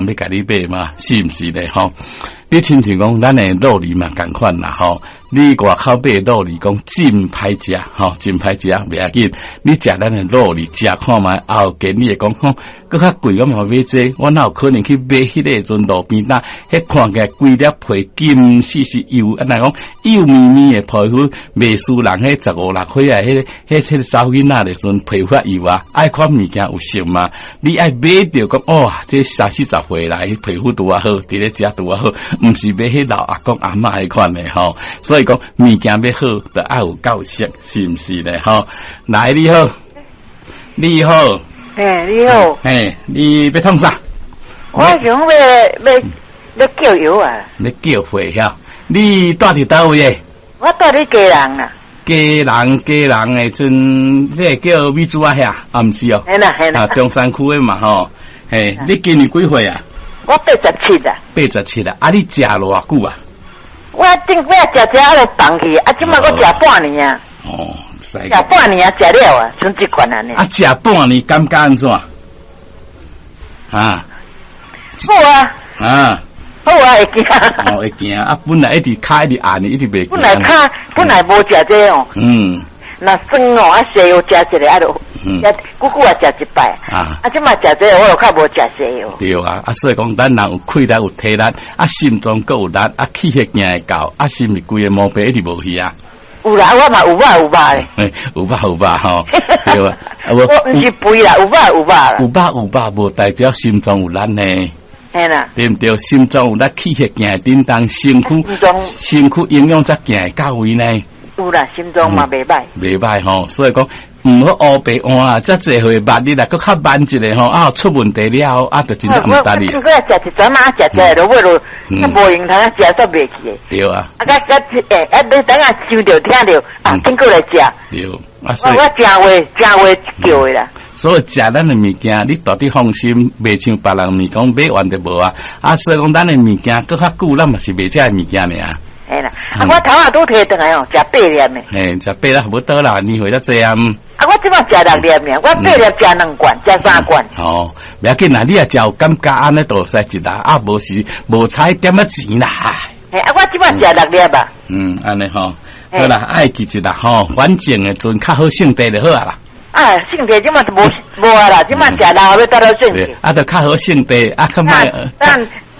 欲共你買嘛？是毋是咧？吼，你親像講咱的酪梨嘛仝款啦，吼，你外口買酪梨講真歹食，吼，真歹食，袂要緊。你食咱的酪梨食看覓，後間你會講吼，閣較貴，我嘛買這個，我哪有可能去買彼個陣路邊擔，彼看起來規粒皮金絲絲幼，按怎講幼綿綿的皮膚，袂輸人彼十五六歲啊，彼個查某囡仔的時陣皮膚幼啊，愛款物件有熟嘛？你愛買著講哦，這三四十歲來皮膚拄仔好，佇咧食拄仔好，毋是買彼老阿公阿嬤彼款的吼。所以講物件欲好，著愛有夠色，是毋是咧？吼，來你好，你好，嘿，你好，嘿，你欲創啥？我想欲欲欲叫藥啊，欲叫貨遐？你住佇佗位的？我住佇基隆啊。基隆基隆的陣，這個叫美珠仔遐，啊，毋是哦，係啦係啦，啊，中山區的嘛吼，嘿，你今年幾歲啊？我87啊。87啊，啊，你食偌久啊？我頂擺食食啊，就放去，啊，這擺閣食半年啊。哦，食半年啊，食了啊，剩這款按呢。啊，食半年感覺按怎？啊？好啊。啊。好啊，會行。哦，會行啊！本來一直跤一直按，一直袂。本來跤本來無食這哦。若酸哦，啊，瀉藥食一个啊，就食久久也食一擺。啊。啊，這擺食這我就較無食瀉藥。對啊，啊，所以講，咱人有氣力有體力，啊，心臟閣有力，啊，氣血行會夠，啊，是毋是規个毛病一直無去啊？有啦，我嘛有肉有肉咧。有肉有肉吼，對啊。我毋是肥啦，有肉有肉啦。有肉有肉，無代表心臟有力呢。嘿啦。對毋對？心臟有力，氣血行會振動，身軀身軀營養才行會到位呢。有啦，心臟嘛袂歹。袂歹吼，所以講毋好烏白換啊！遮濟歲萬日來閣較慢一个吼，啊出問題了後，啊就真正毋值哩。我我食一陣仔，食食落尾就無閒通食煞袂去的。對啊。啊，甲甲欸，啊，你等下想著聽著，啊，緊閣來食。對，啊，所以我誠話誠話叫的啦。所以食咱的物件，你絕對放心，袂像別人物講買完就無啊。啊，所以講咱的物件閣較久，咱嘛是賣這个物件爾。嘿啦，啊，我頭仔拄提轉來哦，食八粒的。嘿，食八粒無多啦，年歲遮濟啊。啊，我這擺食六粒爾，我八粒食兩罐，食三罐。哦，袂要緊啦，你若食有感覺按呢，就會使一啦，啊，無是無彩點仔錢啦。嘿，啊，我這擺食六粒啊。嗯，按呢吼，好啦，愛記一啦吼，反正的陣較好性地就好啊啦。啊，性地這擺就無無啊啦，這擺食老欲得到性地。啊，就較好性地，啊，較莫。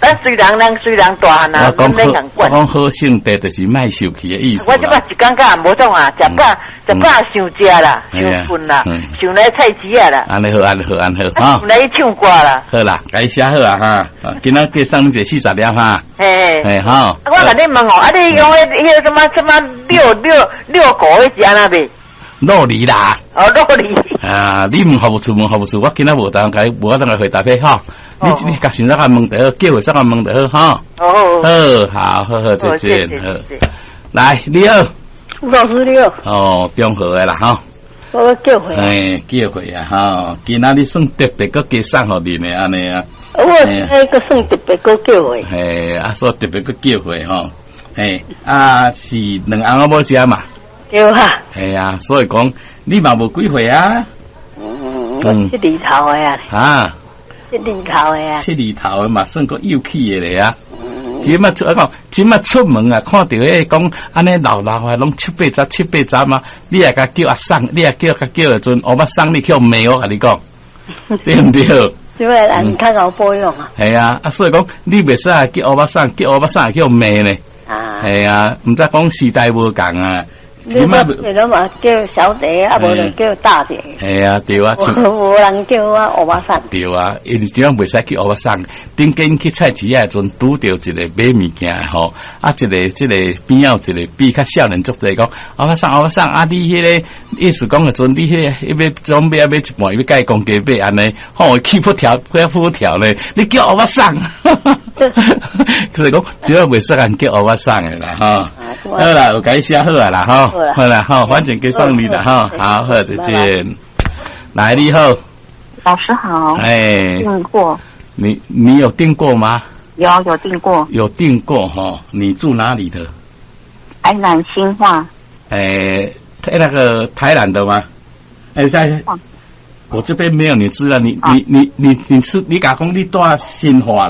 咱雖然咱雖然大漢啊，我講我講好性地就是莫受氣的意思。我這擺一感覺也無創啊，食飽食飽想食啦，想睏啦，想來菜市仔啦。按呢好，按呢好，按呢好，哈。想來唱歌啦。好啦，共寫好啊哈，今仔加送你一个40粒哈。嘿。嘿，好。我共你問哦，啊，你講彼个什麼什麼六六六股彼是按怎賣？酪梨啦。哦，酪梨。啊，你問服務處問服務處，我今仔無當共，無法當來回答彼吼。你你共想怎共問就好，叫會使共問就好吼。哦。好，好好，再見。好，來，你好。吳老師你好。哦，中和的啦，吼。我叫貨。哎，叫貨啊，吼！今仔日算特別閣加送予恁的按呢啊。我那個算特別閣叫貨。嘿，啊，所以特別閣叫貨吼。嘿，啊是兩翁仔某食嘛。對啊。係啊，所以講你嘛無幾歲啊？嗯，我七字頭的啊。啊。七字頭的啊。七字頭的嘛，算閣幼齒的咧啊。這擺出講，這擺出門啊，看著彼個講按呢老老啊，攏七八十、七八十嘛，你也共叫阿桑，你也叫共叫的陣，烏目送你去予罵我共你講，對毋對？這擺人較𠢕保養啊。係啊，啊所以講你袂使叫烏目送，叫烏目送會去予罵呢。啊。係啊，毋知講時代無仝啊。你攏嘛叫小姐，啊無就叫大姐。係啊，對啊。無人叫我烏目送。對啊，因為這樣袂使叫烏目送。頂間去菜市仔的陣，拄著一個買物件的吼，啊，一個這個邊仔有一個比較少年足濟講，烏目送烏目送，啊，你彼個意思講的陣，你彼個欲準備欲買一半，欲共伊講價買按呢，吼，氣噗跳，噗跳咧，你叫烏目送，所以講，這擺袂使共叫烏目送的啦，吼。好啦，有共你寫好啊啦，吼。好啦，好，反正給送你啦，哈，好，好，再見。來，你好，老師好。哎，訂過。你有訂過嗎？有，有訂過。有訂過哈？你住哪裡的？台南新化。哎，那個台南的嗎？哎，在。我這邊沒有你資料，你你你你你是你共講你蹛新化啦。